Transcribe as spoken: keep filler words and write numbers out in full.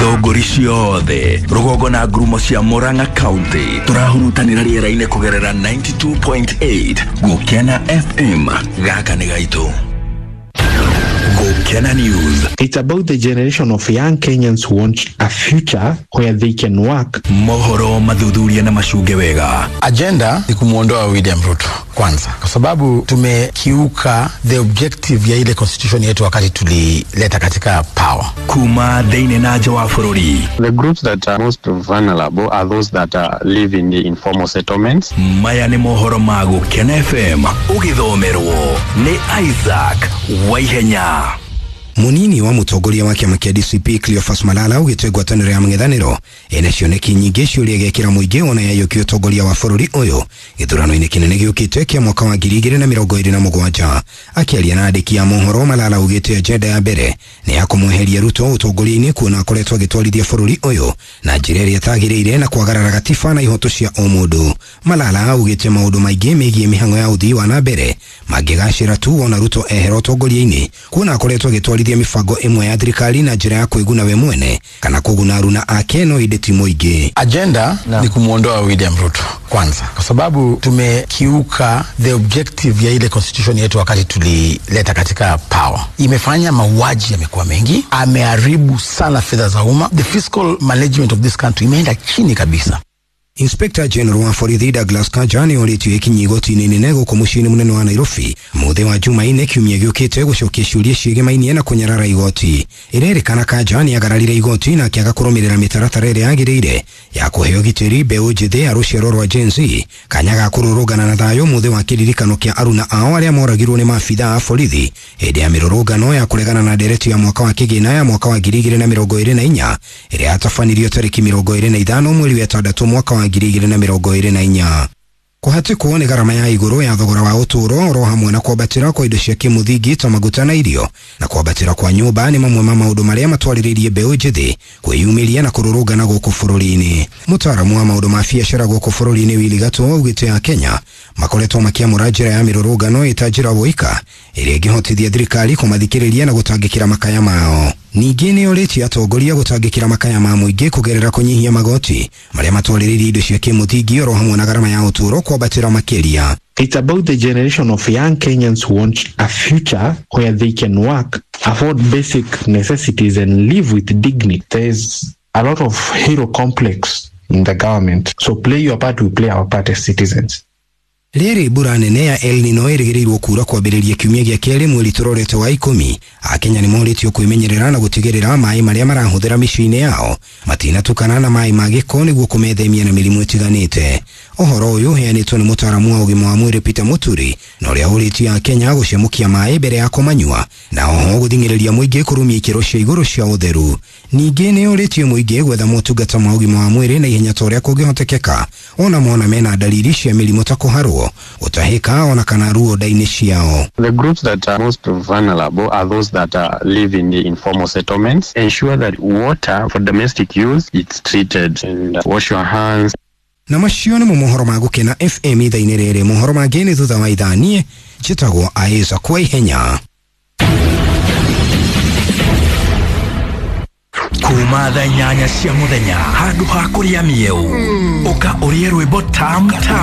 Thũngũri ciothe rũgongo na ngurumo cia Murang'a County tũrahurutanĩra rĩera-inĩ kũgerera ninety-two point eight Gũkena F M. Gaka nĩ gaitũ. Gũkena News. It's about the generation of young Kenyans who want a future where they can work. Mohoro mathuthuria na macunge wega. Agenda ni kumuondoa William Ruto kwanza, kwa sababu tumekiuka the objective ya ile constitution yetu wakati tulileta katika power. Kuma thĩinĩ na nja wa bũrũri. The groups that are most vulnerable are those that are live in the informal settlements. Maya nĩ mohoro ma Gũkena F M ũgĩthomerwo nĩ Isaac Waihenya. Munini wa mutongoria wa kĩama kĩa D C P Cleophas Malala ugĩte ngwatanĩro ya mũng'ethanĩro ĩna cioneki nyingĩ ciũria gĩkĩra mũingĩ ona yaiyũkia ũtongoria wa bũrũri ũyũ gĩthurano-inĩ kĩnene gĩũkĩte kĩa mwaka wa ngiri igĩrĩ na mĩrongo ĩrĩ na mũgwanja. Akĩaria na andĩki a mohoro, Malala ugĩte agenda ya mbere nĩ ya kũmweheria Ruto ũtongoria-inĩ kuona akoretwo agĩtwarithia bũrũri ũyũ na njĩra ĩrĩa ĩtagĩrĩire na kwagarara gatiba na ihoto cia o mũndũ. Malala augĩte maũndũ maingĩ megiĩ mĩhang'o ya ũthii wa na mbere mangĩgacĩra tu ona Ruto ehera ũtongoria-inĩ kuona akoretwo agĩtwarithia mibango ĩmwe ya thirikari na njĩra ya kwĩguna we mwene kana kũguna aruna ake no inde ti mũingĩ. Agenda no. ni kumuondoa William Ruto kwanza, kwa sababu tumekiuka the objective ya ile constitution yetu wakati tulileta katika power. Imefanya mauaji yamekuwa mengi, ameharibu sana fedha za umma, the fiscal management of this country imeenda chini kabisa. Inspector General wa borithi Douglas Kanja nĩ orĩtio ekinyi igoti-inĩ inene gũkũ mũciĩ-inĩ mũnene wa Nairobi mũthĩ wa Jumaine kiumia gĩũkĩte gũcokia ciũria ciĩgĩmainie na kũnyarara igoti. Ĩrerĩkana Kanja nĩ agararire igoti na akĩaga kũrũmĩrĩra mĩtaratara ĩrĩa yagĩrĩire ya kũheo gitĩri mbeũ njĩthĩ ya rũciaro rwa Gen Z kanya ga kũrũrũngana na thayũ mũthĩ wa kĩririkano kĩa aruna ao arĩa moragirwo nĩ maabithaa a borithi hĩndĩ ya mĩrũrũngano ya kũregana na ndereti ya mwaka wa kĩgĩna ya mwaka wa ngiri igĩrĩ na mĩrongo ĩrĩ na inya ĩrĩa yatabanirio tarĩki mĩrongo ĩrĩ na ithano mweri wa ĩtandatũ mwaka wa ngiri igĩrĩ na mĩrongo ĩrĩ na inya. Kũhatĩkwo nĩ garama ya igũrũ ya thogora wa ũtũũro oro hamwe na kwambatĩra kwa indo cia kĩmũthingi ta maguta na irio na kwambatĩra kwa nyũmba nĩ mamwe ma maũndũ marĩa matwarĩrĩirie mbeũ njĩthĩ kwĩyumĩria na kũrũrũngana gũkũ bũrũri-inĩ. Mũtaaramu wa maũndũ ma biacara gũkũ bũrũri-inĩ Willy Gatũ augĩte a Kenya makoretwo makĩamũra njĩra ya mĩrũrũngano ĩta njĩra woika ĩrĩa ĩngĩhotithia thirikari kũmathikĩrĩria na gũtangĩkĩra makaya mao. Ningĩ nĩ orĩtie atongoria gũtangĩkĩra makaya ma mũingĩ kũgerera kũnyihia magoti marĩa matwarĩrĩirie indo cia kĩmũthingi oro hamwe na garama ya ũtũũro kwambatĩra makĩria. It's about the generation of young Kenyans who want a future where they can work, afford basic necessities and live with dignity. There's a lot of hero complex in the government. So play your part, we play our part as citizens. Rĩrĩ mbura nene ya El Nino ĩrĩgĩrĩirwo kuura kwambĩrĩria kiumia gĩa kerĩ mweri tũrorete wa ikũmi. Akenya nĩ morĩtio kwĩmenyerera na gũtigĩrĩra maĩ marĩa marahũthĩra mĩciĩ-inĩ yao matinatukana na maĩ ma gĩko nĩguo kũmethemia na mĩrimũ ĩtiganĩte. Ũhoro ũyũ ũheanĩtwo nĩ mũtaaramu wa ũgima wa mwĩrĩ Peter Muturi na ũrĩa ũrĩtie Akenya gũcemũkia maĩ mbere ya kũmanyua na oho gũthing'ĩrĩria mũingĩ kũrũmia ikĩro cia igũrũ cia ũtheru. Ningĩ nĩ ũrĩtie mũingĩ gwetha motungata ma ũgima wa mwĩrĩ na ihenya ta ũrĩa kũngĩhotekeka ona mona mena dalili cia mĩrimũ ta kũharwo, gũtahĩka ona kana ruo nda-inĩ ciao. The groups that are most vulnerable are those that are live in the informal settlements. Ensure that water for domestic use is treated and wash your hands. Na macio nĩ mohoro ma Gũkena F M ithaa-inĩ rĩrĩ. Mohoro mangĩ nĩ thutha wa ithaa. Niĩ njĩtagwo Isaac Waihenya. Kuma thaa inyanya cia mũthenya handũ ha kũrĩa mĩeũ ũka ũrĩe rwĩmbo tam tam.